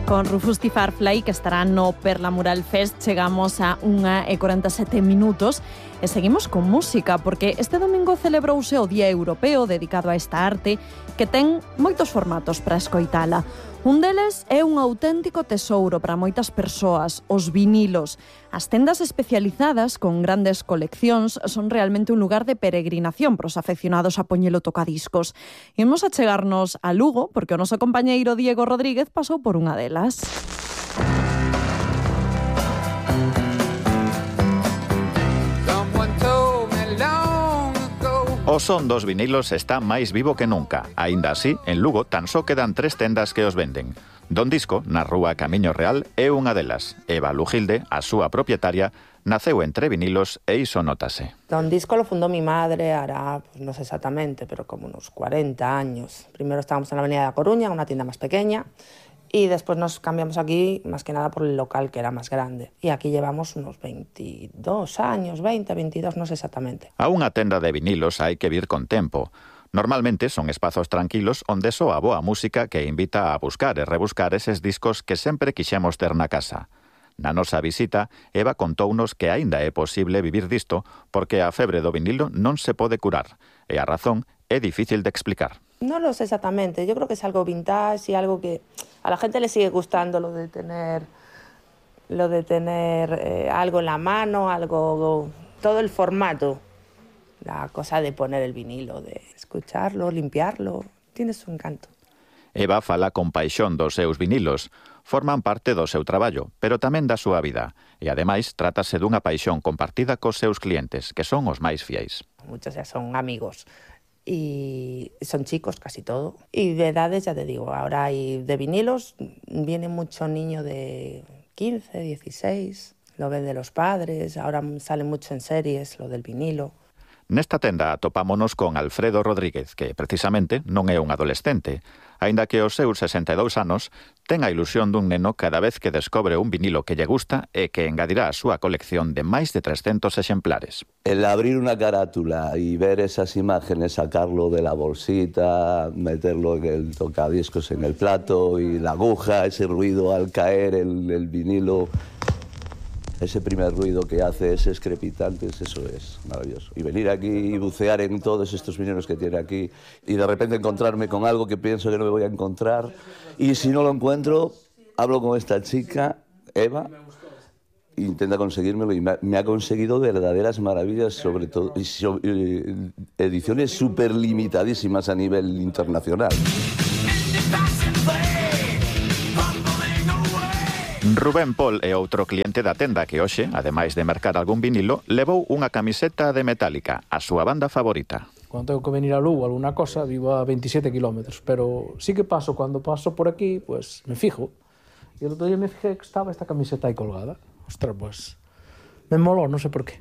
Con Rufus T. Firefly, que estará no Perla Mural Fest, chegamos a 1:47 e seguimos con música, porque este domingo celebrouse o Día Europeo dedicado a esta arte, que ten moitos formatos para escoitala. Un deles é un auténtico tesouro para moitas persoas, os vinilos. As tendas especializadas con grandes coleccións son realmente un lugar de peregrinación para os afeccionados a poñelo tocadiscos. Imos a chegarnos a Lugo, porque o noso compañeiro Diego Rodríguez pasou por unha delas. O son dos vinilos está máis vivo que nunca. Aínda así, en Lugo tan só quedan 3 tendas que os venden. Don Disco, na rúa Camiño Real, é unha delas. Eva Lujilde, a súa propietaria, naceu entre vinilos e iso notase. Don Disco lo fundó mi madre, hará, pues no sé exactamente, pero como unos 40 años. Primero estábamos en la Avenida de La Coruña, una tienda más pequeña, y después nos cambiamos aquí, más que nada por el local, que era más grande. Y aquí llevamos unos 22 años, 20, 22, no sé exactamente. A unha tenda de vinilos hai que vir con tempo. Normalmente son espazos tranquilos onde soa boa música que invita a buscar e rebuscar eses discos que sempre quixemos ter na casa. Na nosa visita, Eva contounos que aínda é posible vivir disto porque a febre do vinilo non se pode curar, e a razón é difícil de explicar. No lo sé exactamente, yo creo que es algo vintage y algo que a la gente le sigue gustando, lo de tener algo en la mano, algo, todo el formato, la cosa de poner el vinilo, de escucharlo, limpiarlo, tiene su encanto. Eva fala con paixón dos seus vinilos, forman parte do seu traballo, pero tamén da súa vida, e ademais trátase dunha paixón compartida cos seus clientes, que son os máis fiéis. Muchos ya son amigos. Y son chicos casi todo. Y de edades, ya te digo, ahora hay de vinilos, viene mucho niño de 15, 16, lo ven de los padres, ahora sale mucho en series lo del vinilo. Nesta tenda atopámonos con Alfredo Rodríguez, que precisamente non é un adolescente. Aínda que aos seus 62 anos ten a ilusión dun neno cada vez que descobre un vinilo que lle gusta e que engadirá a súa colección de máis de 300 exemplares. El abrir una carátula y ver esas imágenes, sacarlo de la bolsita, meterlo en el tocadiscos en el plato y la aguja, ese ruido al caer el vinilo, ese primer ruido que hace, ese crepitante, eso es maravilloso. Y venir aquí y bucear en todos estos vinilos que tiene aquí y de repente encontrarme con algo que pienso que no me voy a encontrar, y si no lo encuentro, hablo con esta chica, Eva, intenta conseguírmelo y me ha conseguido verdaderas maravillas, sobre todo ediciones súper limitadísimas a nivel internacional. Rubén Pol é outro cliente da tenda que hoxe, ademais de mercar algún vinilo, levou unha camiseta de Metallica, a súa banda favorita. Cando tengo que venir a Lugo alguna cosa, vivo a 27 kilómetros, pero sí que paso, cuando paso por aquí, pues me fijo. Y el otro día me fijé que estaba esta camiseta aí colgada. Ostras, pues me moló, non sei por qué.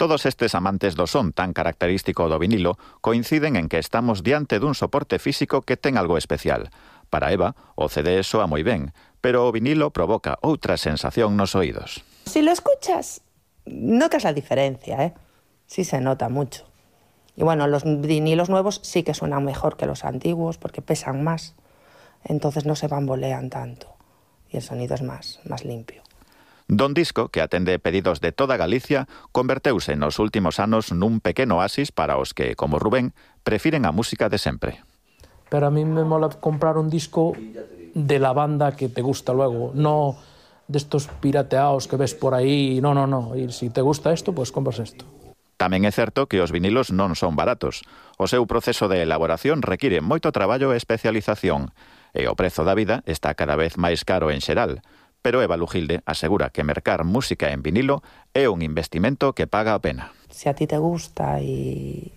Todos estes amantes do son tan característico do vinilo coinciden en que estamos diante dun soporte físico que ten algo especial. Para Eva, o CD soa moi ben, pero o vinilo provoca outra sensación nos oídos. Si lo escuchas, notas la diferencia, ¿eh? Sí se nota mucho. Y bueno, los vinilos nuevos sí que suenan mejor que los antiguos porque pesan más, entonces no se bambolean tanto y el sonido es más limpio. Don Disco, que atende pedidos de toda Galicia, converteuse nos últimos anos nun pequeno oasis para os que, como Rubén, prefiren a música de sempre. Pero a mí me mola comprar un disco de la banda que te gusta luego, no de estos pirateados que ves por ahí, no. Y si te gusta esto, pues compras esto. Tamén é certo que os vinilos non son baratos. O seu proceso de elaboración require moito traballo e especialización, e o prezo da vida está cada vez máis caro en xeral. Pero Eva Lujilde asegura que mercar música en vinilo é un investimento que paga a pena. Si a ti te gusta y,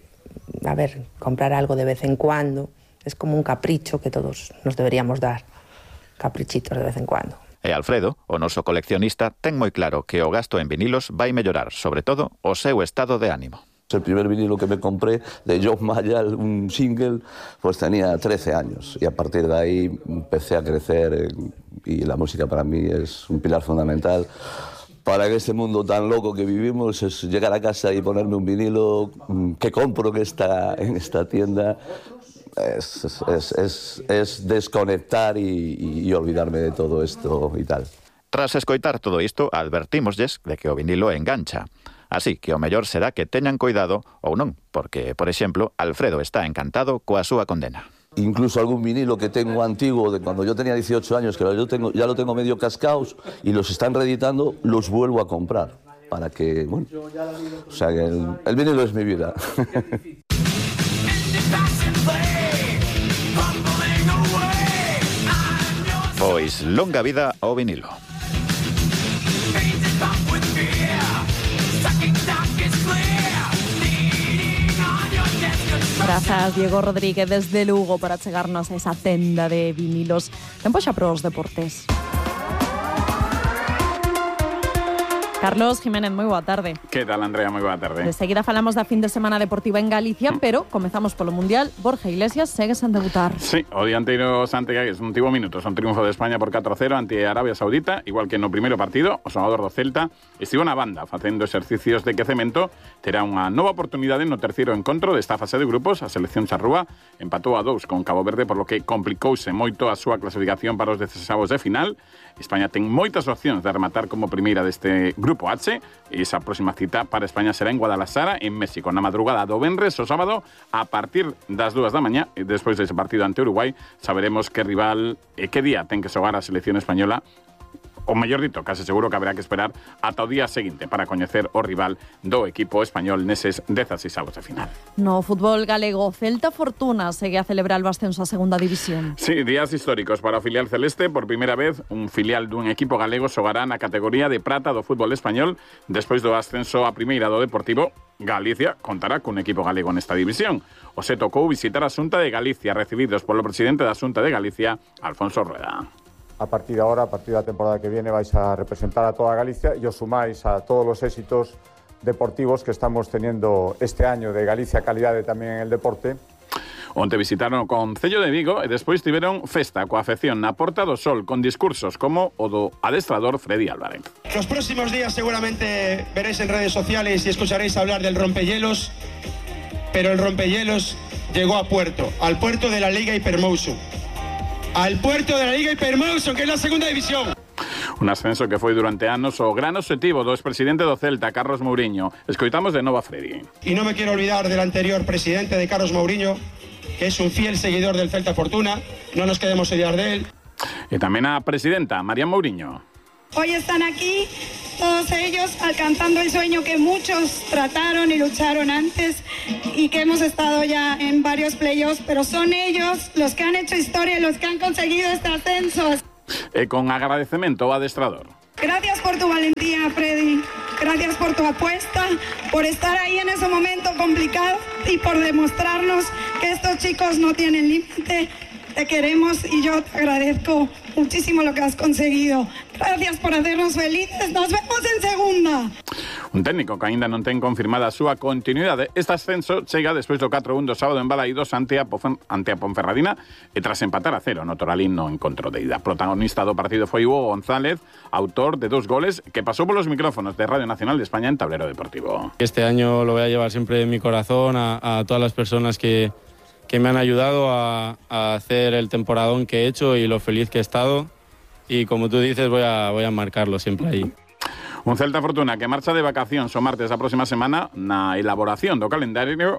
comprar algo de vez en cuando, es como un capricho que todos nos deberíamos dar, caprichitos de vez en cuando. E Alfredo, o noso coleccionista, ten moi claro que o gasto en vinilos vai mellorar, sobre todo, o seu estado de ánimo. El primer vinilo que me compré de John Mayall, un single, pues tenía 13 años y a partir de ahí empecé a crecer y la música para mí es un pilar fundamental. Para que este mundo tan loco que vivimos es llegar a casa y ponerme un vinilo que compro en esta tienda. es desconectar y olvidarme de todo esto y tal. Tras escoitar todo isto, advertímosles de que o vinilo engancha. Así que o mellor será que teñan cuidado ou non, porque, por exemplo, Alfredo está encantado coa súa condena. Incluso algún vinilo que tengo antiguo de cuando yo tenía 18 años, que ya lo tengo medio cascaos y los están reeditando, los vuelvo a comprar. Para que, bueno, o sea que el vinilo es mi vida. Pois longa vida ao vinilo. Grazas, Diego Rodríguez, desde Lugo, para chegarnos a esa tenda de vinilos. Tempo xa para os deportes. Carlos Jiménez, moi boa tarde. Que tal, Andrea? Moi boa tarde. De seguida falamos da fin de semana deportiva en Galicia, pero comezamos polo Mundial. Borja Iglesias segue sen debutar. Sí, o dianteiro Santiagués non tivo minutos. Un triunfo de España por 4-0 ante Arabia Saudita, igual que no primeiro partido, o xogador do Celta estivo na banda facendo exercicios de quecemento. Terá unha nova oportunidade no terceiro encontro desta fase de grupos. A selección charrúa empatou a 2 con Cabo Verde, por lo que complicouse moito a súa clasificación para os 16avos de final. España ten moitas opcións de rematar como primeira deste Grupo H, e esa próxima cita para España será en Guadalajara, en México, na madrugada do venres o sábado a partir das 2 da mañá. E despois dese partido ante Uruguai saberemos que rival e que día ten que xogar a selección española. O mellor dito, case seguro que haberá que esperar ata o día seguinte para coñecer o rival do equipo español neses 16avos de final. No fútbol galego, Celta Fortuna segue a celebrar o ascenso a segunda división. Sí, días históricos para o filial celeste. Por primeira vez, un filial dun equipo galego xogará na categoría de prata do fútbol español. Despois do ascenso a primeira do Deportivo, Galicia contará cun equipo galego nesta división. O se tocou visitar a Xunta de Galicia, recibidos polo presidente da Xunta de Galicia, Alfonso Rueda. A partir de ahora, a partir de la temporada que viene, vais a representar a toda Galicia y os sumáis a todos los éxitos deportivos que estamos teniendo este año de Galicia Calidade tamén en el deporte. Onte visitaron o Concello de Vigo e despois tiveron festa coa afección na Porta do Sol con discursos como o do adestrador Freddy Álvarez. Los próximos días seguramente veréis en redes sociales y escucharéis hablar del rompehielos, pero el rompehielos llegó a puerto, al puerto de la Liga Hypermotion. Al puerto de la Liga Hypermotion, que es la segunda división. Un ascenso que foi durante anos o gran obxectivo do expresidente do Celta, Carlos Mouriño. Escoitamos de novo a Freddy. Y no me quiero olvidar del anterior presidente de Carlos Mouriño, que es un fiel seguidor del Celta Fortuna. No nos queremos olvidar de él. E tamén a presidenta, María Mouriño. Hoy están aquí todos ellos alcanzando el sueño que muchos trataron y lucharon antes y que hemos estado ya en varios playoffs, pero son ellos los que han hecho historia y los que han conseguido este ascenso. E con agradecemento ao adestrador. Gracias por tu valentía, Freddy. Gracias por tu apuesta, por estar ahí en ese momento complicado y por demostrarnos que estos chicos no tienen límite. Te queremos y yo te agradezco muchísimo lo que has conseguido. Gracias por hacernos felices. Nos vemos en segunda. Un técnico que aínda non ten confirmada a súa continuidade. Este ascenso chega despois do 4-1 do sábado en Balaídos ante a Ponferradina e tras empatar a 0 no Toralín no encontro de ida. Protagonista do partido foi Hugo González, autor de 2 goles que pasou polos micrófonos de Radio Nacional de España en Tablero Deportivo. Este año lo voy a llevar siempre en mi corazón a todas las personas que me han ayudado a hacer el temporadón que he hecho y lo feliz que he estado. Y como tú dices, voy a marcarlo siempre ahí. Un Celta Fortuna que marcha de vacacións o martes da próxima semana. Na elaboración do calendario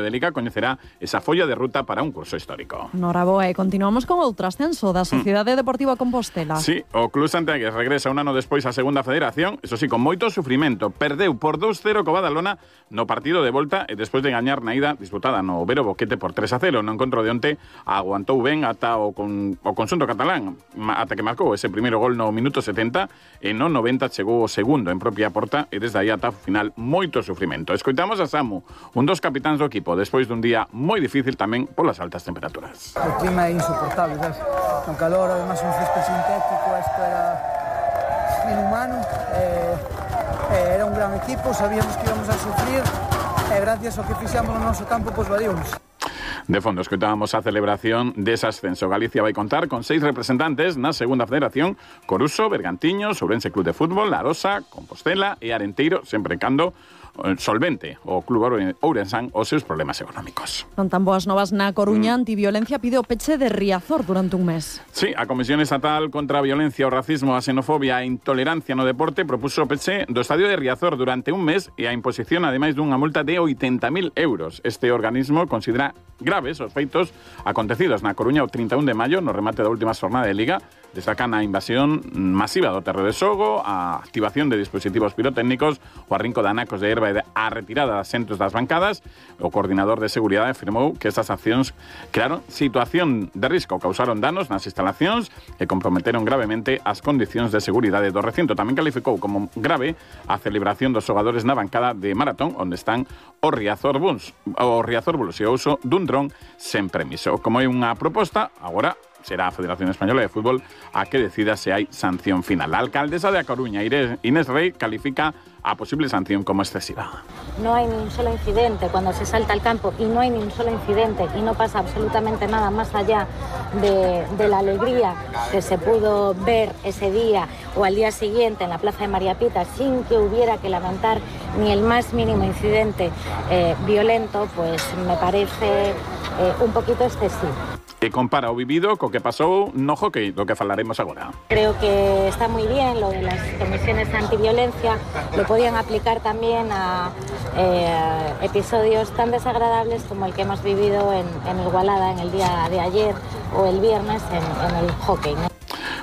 de Liga coñecerá esa folla de ruta para un curso histórico. Noraboa, e continuamos con outro ascenso da Sociedade Deportiva Compostela. Sí, o Club Santiagués regresa un ano despois á segunda federación, eso sí, con moito sufrimento. Perdeu por 2-0 co Badalona no partido de volta e despois de gañar na ida disputada no Vero Boquete por 3-0. No encontro de onte aguantou ben ata o conxunto catalán, ata que marcou ese primeiro gol no minuto 70 e no 90 chegou o segundo en propia porta e desde aí ata final moito sufrimento. Escoitamos a Samu, un dos capitáns do equipo, despois dun día moi difícil tamén polas altas temperaturas. O clima é insoportable, sabes? No calor, además un césped sintético, esto era inhumano. Era un gran equipo, sabíamos que íbamos a sufrir e gracias ao que fixamos no noso campo, pois vadíamos. De fondo, escoitábamos a celebración dese ascenso. Galicia vai contar con 6 representantes na segunda federación: Coruso, Bergantiños, Ourense Club de Fútbol, Arosa, Compostela e Arenteiro, sempre cando solvente o Club Ourensán os seus problemas económicos. Non tan boas novas na Coruña, Antiviolencia pide o peche de Riazor durante un mes. Sí, a Comisión Estatal contra a Violencia, o Racismo, a Xenofobia e Intolerancia no Deporte propuso o peche do estadio de Riazor durante un mes e a imposición, ademais dunha multa de 80.000 euros. Este organismo considera graves os feitos acontecidos na Coruña o 31 de maio, no remate da última xornada de Liga. Destacan a invasión masiva do terreo de xogo, a activación de dispositivos pirotécnicos, o arrinco de anacos de erva e a retirada de asentos das bancadas. O coordinador de seguridade afirmou que estas accións crearon situación de risco, causaron danos nas instalacións e comprometeron gravemente as condicións de seguridade do recinto. Tamén calificou como grave a celebración dos xogadores na bancada de maratón, onde están o Riazor Bulls e o uso dun dron sen permiso. Como é unha proposta, agora será a Federación Española de Fútbol a que decida se hai sanción final. La alcaldesa de A Coruña, Inés Rey, califica a posible sanción como excesiva. No hay ni un solo incidente cuando se salta al campo y no hay ni un solo incidente y no pasa absolutamente nada más allá de la alegría que se pudo ver ese día o al día siguiente en la Plaza de María Pita sin que hubiera que lamentar ni el más mínimo incidente violento, pues me parece un poquito excesivo. E compara o vivido co que pasou no hockey, do que falaremos agora. Creo que está muy bien lo de las comisiones antiviolencia, lo podían aplicar también a episodios tan desagradables como el que hemos vivido en Igualada en el día de ayer o el viernes en el hockey, ¿no?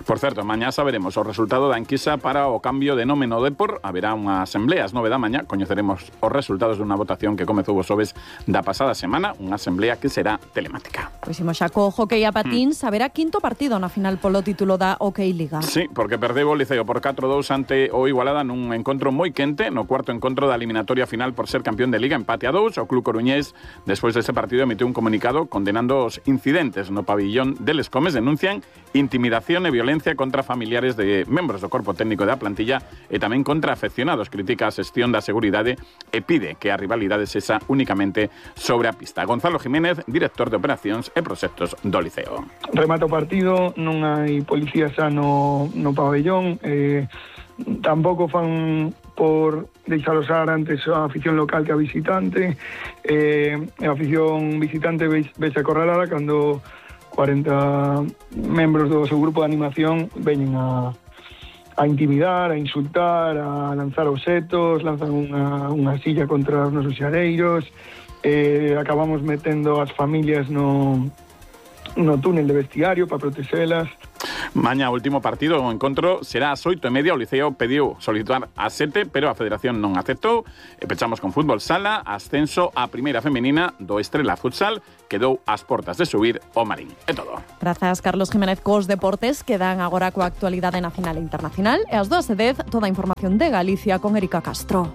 Por certo, mañá saberemos o resultado da enquisa para o cambio de nome no Depor. Haberá unha asamblea ás 9 da mañá. Coñeceremos os resultados dunha votación que comezou os xoves da pasada semana. Unha asamblea que será telemática. Pois imos xa co hockey a patíns. Haberá quinto partido na final polo título da Hockey Liga. Sí, porque perdeu o Liceo por 4-2 ante o Igualada nun encontro moi quente. No cuarto encontro da eliminatoria final por ser campeón de Liga, empate a 2. O club coruñés, despois dese partido, emitiu un comunicado condenando os incidentes no pabillón de Les Comes. Denuncian intimidación e violencia contra familiares de membros do corpo técnico da plantilla e tamén contra afeccionados. Critica a xestión da seguridade e pide que a rivalidade sexa únicamente sobre a pista. Gonzalo Jiménez, director de operacións e proxectos do Liceo. Remata o partido, non hai policías xa no pabellón, tampouco fan por deixar usar antes a afición local que a visitante, a afición visitante vese acorralada cando 40 membros do seu grupo de animación veñen a intimidar, a insultar, a lanzar obxetos, lanzan unha silla contra os nosos xareiros, acabamos metendo as familias no túnel de vestiario para protexelas. Mañá, último partido, o encontro será ás 8:30. O Liceo pediu solicitar ás 7, pero a Federación non aceptou. E pechamos con fútbol sala, ascenso á primeira femenina do Estrela Futsal, quedou ás portas de subir o Marín. É todo. Grazas, Carlos Jiménez, cos deportes, quedan agora coa actualidade nacional e internacional. E ás 2:10, toda a información de Galicia con Erika Castro.